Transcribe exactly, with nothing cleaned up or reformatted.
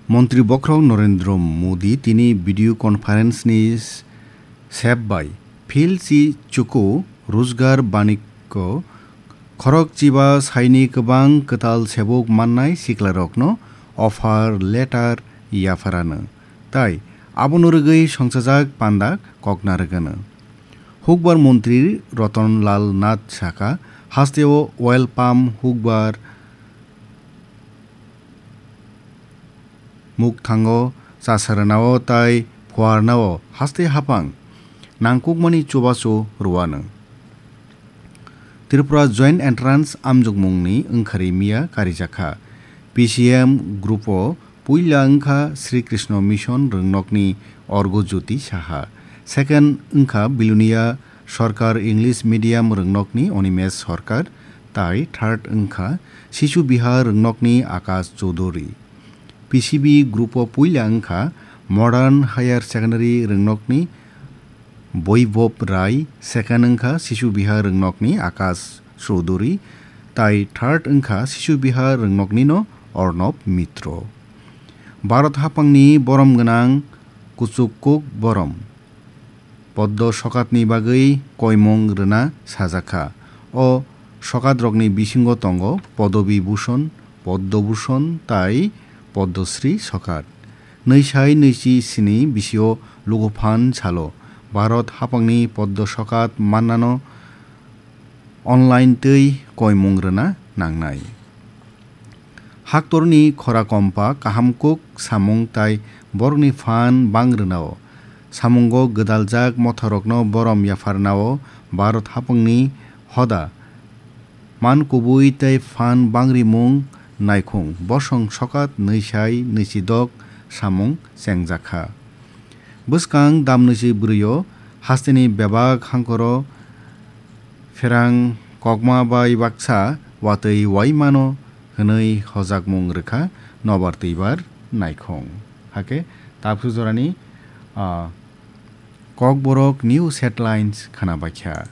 Montri bokhorok Narendra Modi tini video conference ni sep bai Phil Chi Chuku Rojgar Banikko khorok chiba saini kwbang kwtal sebuk mannai siklarokno offer letter yapharano, tai abono rwgwi songchajak panda kokna rwgano. Hukbar montri Ratan Lal Nath saka, hasteo oil palm hukbar mukthango chasarnao tai phuarnao haste hapang nangkukmani chubachu rwano. Tripura Joint Entrance amjokmungni wngkhari miya karijakha. P C M group o puila wngkha Sri Krishna Mission rwngnokni Orgo Jyoti Saha, second wngkha Bilonia Sarkar English Medium rwngnokni Animesh Sarkar, tai third wngkha Shishu Vihar rwngnokni Akash Choudhury. P C B group o puila wngkha Modern Higher Secondary rwngnokni Boibob Rai, second wngkha Shishu Vihar rwngnokni Akash Choudhury, tai third wngkha Shishu Vihar rwngnoknino Arnab Mitro. Bharat hapangni borom gwnang kuchuk kuk borom Poddo sokatni bagwi koimung rwna sajakha. O sokatrokni bisingo tongo Podobi Bhushon, Poddo Bhushon tai Poddo Shri sokat. Nwisai nwichi sini bisio luguphan salo Bharat hapangni Poddo sokat mannano online twi koimung rwna nangnai. Haktorni khora kompa kaham kuk samung tai borokni phan bang rwnao. Samungo gwdaljak mothorokno borom yapharnao Bharat hapangni hoda man kubui tei phan bangrimung naikhung bosong sokat nwisai nwichidok samung chengjakha. Bwskang damnwisi bwrwio hasteni bebak hangkoro pherang kokma bai baksa watwi waimano hwnwi hojakmung rwkha nobar twibar naikhung. Hakhe tabsu jorani, ah, Kokborok News Headlines khwnabaikha.